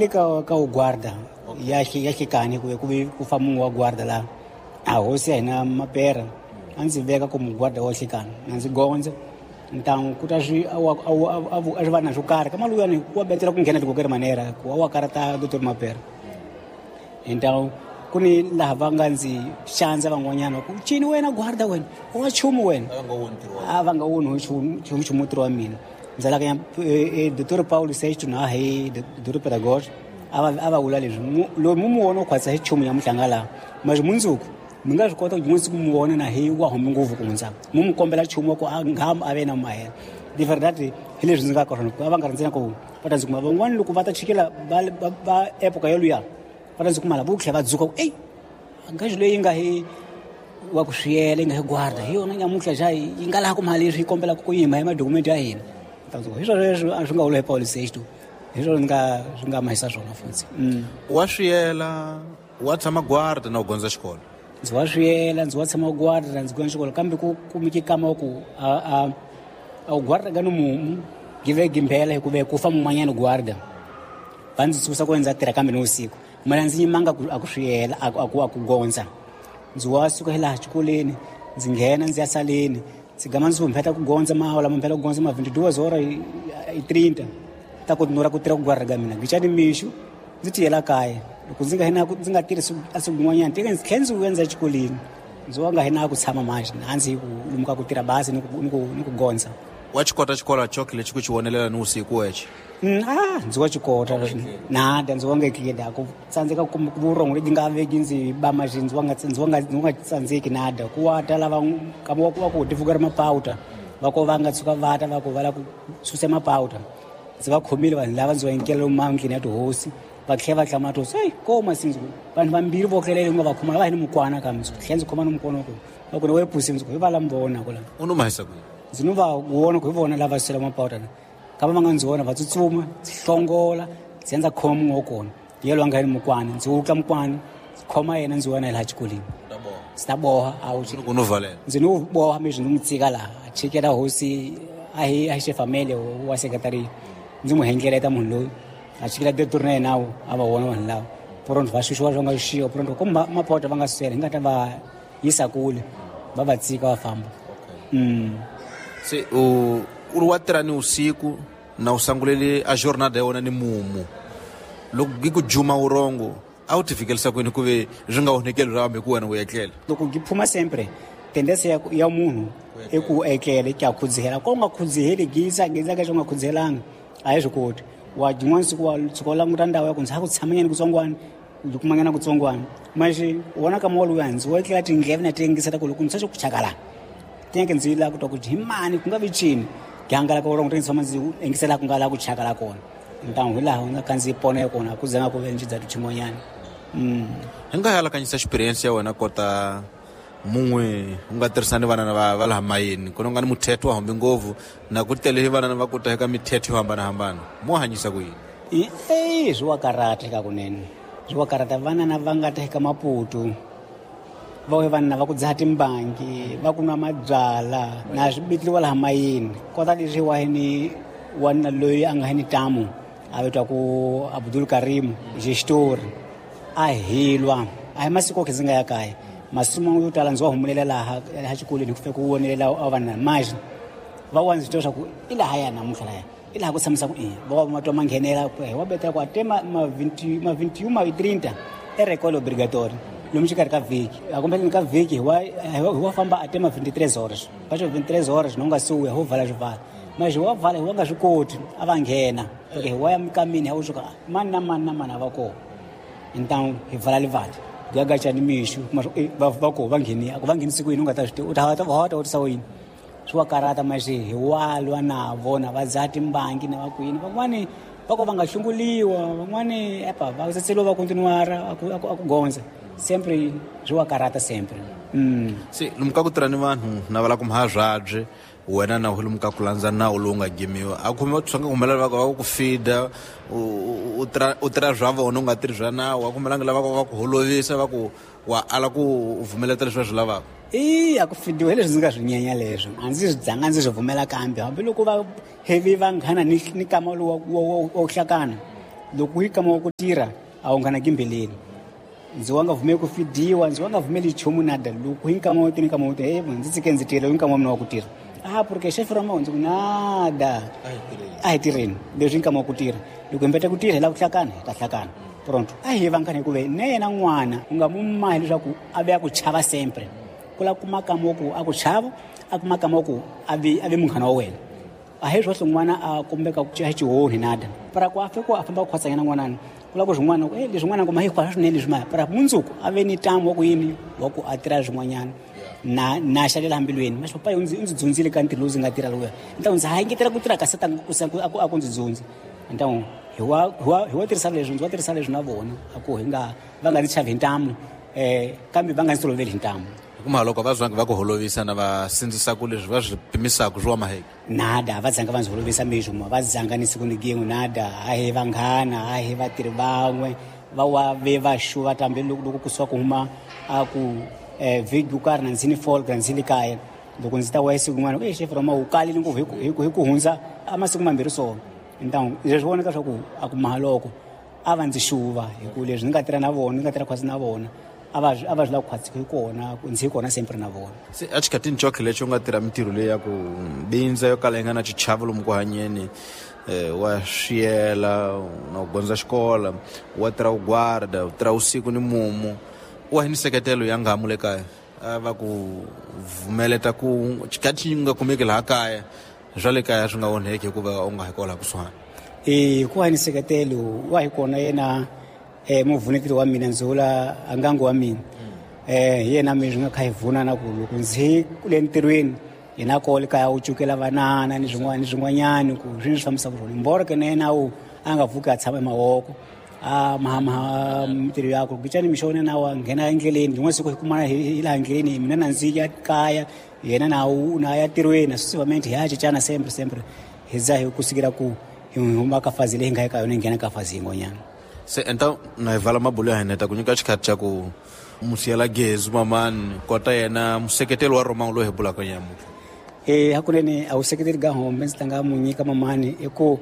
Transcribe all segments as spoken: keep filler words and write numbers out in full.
Le ka ka guarda ya ya xikani ku ku ku fa munhu wa guarda la a hosi ya hina mapera a ndzi veka ku muguarda wa xikani na ndzi gondza ntangu ku ta swi a a swi va na swo karhi ka maluyani wa betela ku nghena tikokeri manera ku wa karata doctor Mapera então ku ni laha va nga ndzi xandza van'wanyana ku cini wena guarda wena wa chumu wena a va nga woni chumu chumu ntirho wa mina ndzalaka ya doctor Paulo Sexto na hi doctor Pedagogo a va a va vula leswi loyi mu mu vona u khwatsa hi chumu ya muhlanga laha mas mundzuku mi nga swi kota ku n'wi siku mu vona na hi wa humi ngopfu ku hundza mu mu kombela chumu wa ku a nga a ve na mahela de verdade hi leswi ndzi nga ka swona a va nga ri ntsena ku va ta ndzi kuma van'wani loko va ta chikela va va epoka yoluya va ta ndzi kuma la vo tlhela va dzuka ku ey ngaxi leyi nga hi wa ku swiyela yi nga hi guarda hi yona nyamuhla xa yi nga laha ku mali leswi yi kombelaka ku yima hi madokumenti ya hina hi swona leswi a swi nga vula hi Paulo Sexto hi swona nga swi nga mahisa swona futhi wa swiyela wa tshama guarda na u gondza xikolo ndzi wa swiyela ndzi wa tshama guarda ndzi gondza xikolo kambe ku kumeke kama ku a a a guarda ka no mumu give gimbela hikuva ku fa mun'wanyana guarda va ndzi susa ku ndza tirha kambe ni usiku mina ndzi yimanga ku a ku swiyela a ku a ku gondza ndzi wa suka hi laha xikolweni ndzi nghena ndzi ya saleni ndzi gama ndzi humpheta ku gondza mahola mamphela ku gondza ma vinte e duas horas e trinta ta ku nora ku tirha ku guarda ka mina ngicani mixo ndzi tiyela kaya loko ndzi nga hina ndzi nga tirhisi a siku rin'wanyana teke ndzi tlhela ndzi vuya exikolweni ndzi wa nga hina ku tshama manje a ndzi ku lumuka ku tirha bazi ni ku ni ku ni ku gondza wa xikota xikolo choki lexi ku xi vonelela ni usiku wexe a ndzi wa xikota nada ndzi wa nga etleli ku tsandzeka ku vurhongo lebyi nga veki ndzi ba maxi ndzi wa nga ndzi wa nga ndzi nga tsandzeki nada ku wa ta lava kama wa ku wa ku tivuka ri mapawuta va ko va nga tshuka va ta va ku va la ku susa mapawuta ndzi va khomile vanhu lava ndzi va enkela mandlini ya tihosi va tlhela va hlamula tihosi eyi koma sindzi vanhu vambirhi vo tlelela u nga va khoma va hi ni mukwana kambe ndzi tlhela ndzi khoma ni mukwana wa ku va ku ni wepusi ndzi ku hi va la mi vona ku la u no mahisa kwihi ndzi no va vona ku hi vona lava susela mapawuta kava va nga ndzi vona va tsutsuma ndzi hlongola ndzi ya ndza khoma munhu wa kona yelo a nga ni mukwana ndzi wutla mukwana ndzi khoma yena ndzi wena hi laha xikolweni ndzi ta boha a wu ku no valela ndzi no boha mi ndzi n'wi tshika laha a chikela hosi a hi a hi xefamele wa sekretariya ndzi n'wi hengeleta munhu loyi a chikela diretori na yena a va vona vanhu lava pronto va xuxiwa swa nga xuxiwa pronto ku mapota va nga susela hi nga ta va yisa kule va va tshika va famba se u u ri wa tirha ni usiku na u sangulele a jornada ya wena ni mumu loko gi ku juma urongo a wu ti fikelisa kwini ku ve swi nga onhekeli ra hambi ku wena u etlela loko gi phuma sempre tendensi ya, ya munhu i ku etlele ki a khudzihela ko u nga khudziheli gisa gisa ka xo nga khudzihelanga a hi swi koti wa jin'wana siku wa tshuka u languta ndhawu ya ku ndzi ha ku tshamanyana kutsongwana ndzi kumanyana kutsongwana maxi u vona ka mowa luya ndzi wo etlela tindleve na ti yingisela ku loko ndzi swa ku chakala tineke ndzi la ku twa ku hi mani ku nga vi cini ki hangalaka urongo ti tshama ndzi yingisela ku nga laha ku chakala kona ntangu hi laha nga kha ndzi pona kona ku zanga ku ve ndzi dza xin'wanyana hi nga halakanyisa experience ya wena kota mun'we u nga tirhisani vana va va laha mayeni ku nga ni muthetho wa hambi ngopfu na ku tele vana va ku teka mithetho yo hambanahambana mo hanyisa ku yini e swi wa karata eka kunene swi wa karata vana na va nga teka Maputo va we vanhu va ku dzaha timbangi va ku nwa mabyala na swi bitliwa laha mayini kota leswi wa ni wanuna loyi a nga hi ni tamu a vitwa ku Abdul Karim gestori a hilwa a hi masiku okhe ndzi nga ya kaya masimu yo tala ndzi wa humelela laha laha xikolweni ku fika ku vonelela a vanhu manje va wa ndzi twa swa ku i laha ya namuntlha laya i laha ku tshamisa ku i va wa matwa ma nghenela hi wa betela ku a te ma ma vinti ma vinti ma trinta e rekolo obligatory lomu xikarhi ka vhiki a kumbeleni ka vhiki hi wa hi wa famba a te ma vinte e três horas va xo vinte e três horas no nga suya ho vala swivala manje wa vala hi wa nga swi koti a va nghena okay hi wa ya mikamini hi wu suka mani na mani na mani a va kona então hi vala livati gagachani mixo kuma va va ko va ngheni a ku va nghenisi ku yini u nga ta swi tiva u ta ta va ta vutisa yini swi wa karata manje hi walwa na vona va dzaha timbangi na va kwini van'wani va ko va nga hlunguliwa van'wani epa va tsetseliwa va continuara a ku a ku gondza sempre swi wa karata sempre se lomu ka ku tirha ni vanhu na va la ku mhabyabye wena na u lomu ka ku landza nawu lowu nga gimiwa a khome swi nga humelela va va ku fida u tirha u tirha swa vona u nga tirhi swa nawu a kumelanga lava va ku holovisa va ku wa ala ku vumeleta leswi va swi lavaka i a ku fidiwa hi leswi ndzi nga swi nyenya leswo a ndzi swi dzanga ndzi swi vumela kambe hambiloko va hevi vanghana ni ni kama lowu wa wa hlakana Loko hi kama ku tirha a wu nga na gimbeleni. Ndzi wa nga vumeli ku fidiwa, ndzi wa nga vumeli nchumu nada. Loko hi nkama wo tirha nkama wo tirha, hey, ndzi tsike ndzi tirha hi nkama wa mina wa ku tirha. Ah, porque chefe Roma ndzi ku nada. A hi tirheni, leswi nkama wa ku tirha. Loko hi mbeta ku tirha hi lava ku hlakana, hi ta hlakana. Pronto. A hi vanghana hikuva na yena n'wana u nga mu mahi leswaku a ve a ku chava sempre. Ku la kuma kama wa ku a ku chava, a kuma kama wa ku a vi a vi munghana wa wena. A hi swohle n'wana a kumbeka ku xihonhi nada. Para ku a fika a famba ku khwatsanyana n'wanana. Ku la ku swin'wana eh leswi n'wana kuma hi khwasa swinene leswi maya. Para mundzuku a ve ni ntamu wa ku yini wa ku a tirha swin'wanyana. Na na xalela mbilweni. Mas papai ndzi ndzi dzundzile ka ntirho lowu ndzi nga tirha lowuya. Ntamu ndzi ha engetela ku tirha ka satanga ku a ku a ku ndzi dzundza. Ntamu hi wa hi wa hi wa tirhisa leswi ndzi wa tirhisa leswi na vona a ku hi nga va nga ndzi chavi hi ntamu eh kambe va nga ndzi toloveli hi ntamu. Kuma loko va zwangi va ku holovisa na va sindzisa ku leswi va swi pimisaka swi wa maheke. Nada, va dzanga va ndzi holovisa mixo va dzanga ni siku ni gin'we nada. A hi vanghana, a hi vatirhi van'we va wa ve va xuva tambe loko loko kusuka ku huma a ku eh vhiki yo karhi na ndzi ni folk na ndzi le kaya. Loko ndzi ta wa siku rin'wana eh chef Roma u kalile ngopfu hi ku hi ku hi ku hundza a masiku mambirhi so. Ntamu leswi vonaka swa ku a ku mahaloko a va ndzi xuva hi ku leswi ndzi nga tirha na vona, ndzi nga tirha khwatsi na vona. A va a va swi lava ku khwatsi hi kona, ndzi hi kona sempre na vona. Se a xikhatini xo lexi u nga tirha mintirho leyi ya ku bindza yo kala yi nga na xichavo lomu ku hanyeni, eh wa swiyela na ku gondza xikolo, wa tirha ku guarda, u tirha usiku ni mumu, wa hi ni seketelo ya ngamu le kaya. A va ku vumeleta ku xikhathi xi nga kumeki laha kaya, swa le kaya swi nga onheki hikuva u nga hi kwala kusuhani. Eh ku wa ni seketelo wa hi kona yena eh muvuneteli wa mina ndzi vula ngangu wa mina. Eh hi yena mi swi nga kha hi vuna na ku loko ndzi kule ntirhweni yena kole kaya u cukela vanana ni swin'wana ni swin'wanyana ku swi swi fambisa ku rona. Mboro ke na yena u a nga pfuki a tshama emavoko a mahama mintirho yakwe kucani mixo na wa nghena endleleni rin'wana siku hi kumana hi laha endleleni mina na ndzi ya kaya yena na u na ya tirhweni successivamente hi ya cincana sempre sempre hi za hi kusukela ku hi huma ka fazi leyi nga eka yona hi nghena ka fazi yin'wanyana. Se enta na hi vala mabulo ya hina ta ku nyika xikhathi xa ku musiyela gezi mamani kota yena museketeli wa Roma loyi hi bulaka nyamutlha. Eh hakunene a wu seketeli ka hombe ndzi tlanga mu nyika mamani i ku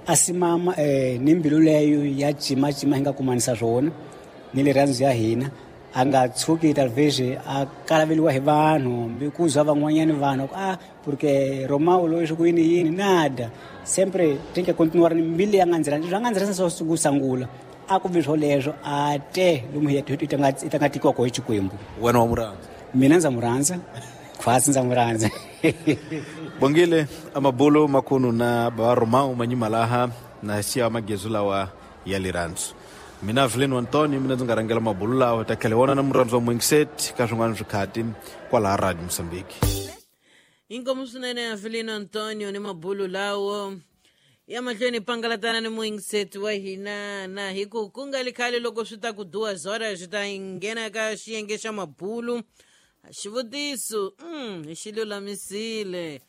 a simama eh ni mbilu leyo ya cima cima hi nga kumanisa swona ni rirhandzu ya hina a nga tshuki talvez a kalaveliwa hi vanhu hambi ku zwa van'wanyani vanhu ah porque Romao loyi swi ku yini yini nada sempre tem que continuar ni mbilu ya nga ndzi rhandza swa nga ndzi rhandza swa ku sangula a ku vi swoleswo a te lomu hi hi ta nga hi ta nga tikiwa hi Xikwembu. Wena wa mu rhandza? Mina ndza mu rhandza khwatsi ndza mu rhandza. Bongile amabulo makhunu na baba Romao manyimalaha na siya magezu lawa ya lirhandzu. Mina Avelino Antonio mina ndzi nga rhangela mabulo lawa ta khale wona na murhandzu wa Mwingiset ka swin'wana swikhati kwalaha Radio Mozambique. Inkomu swinene Avelino Antonio ni mabulo lawo ya mahlweni pangalatana ni Mwingiset wa hina na hi ku ku nga li khale loko swi ta ku duwa zora swi ta nghena ka xiyenge xa mabulu. Xivutiso mm, hi xi lulamisile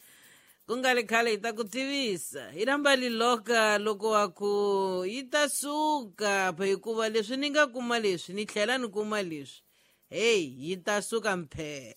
ku nga li khale hi ta ku tivisa hi rhamba liloka loko wa ku yi ta suka hikuva leswi ni nga kuma leswi ni tlhela ni kuma leswi heyi yi ta suka mphe.